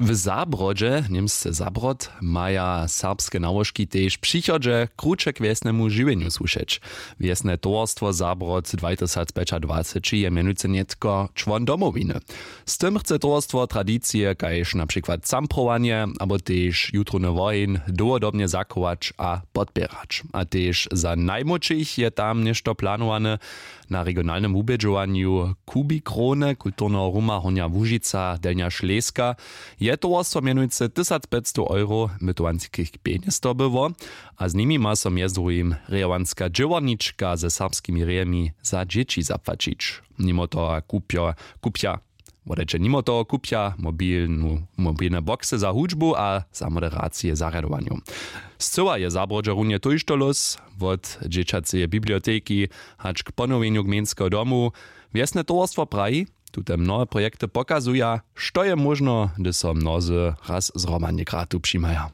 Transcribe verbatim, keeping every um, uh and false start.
W Zabrodźe, němsce Zabrod, maja serbske nałožki tež w přichodźe kruće k wjesnemu žiwjenju słušeć. Wjesne towarstwo Zabrod dwajtysacpjećadwaceći je mjenujcy nětko čłon Domowiny. Z tym chce towarstwo tradicije kaž na přikład camprowanje abo tež jutrowny woheń dołhodobnje zachować a podpěrać. A tež za najmłódšich je tam něšto planowane. Na regionalnym wubědźowanju kubikrowne kulturneho ruma hornja łužica delnja šleska je towarstwo mjenujcy tysacpjećstow euro mytowanskich pjenjez dobyło. A z nimi ma so mjez druhim rěhowanska dźěłarnička ze serbskimi rěhemi za dźěći zapłaćić. Nimo toho kupja kupja wodajće nimo toho kupja mobilnu mobilne boksy za hudźbu a za moderacije zarjadowanju. Scyła je zabrodźe runje tójšto lós wot dźěćaceje biblioteki hač k ponowjenju gmejnskeho domu. Wjesne towarstwo praji, tute mnohe projekty pokazuja, što je móžno, hdy so mnozy raz zhromadnje gradu přimaja.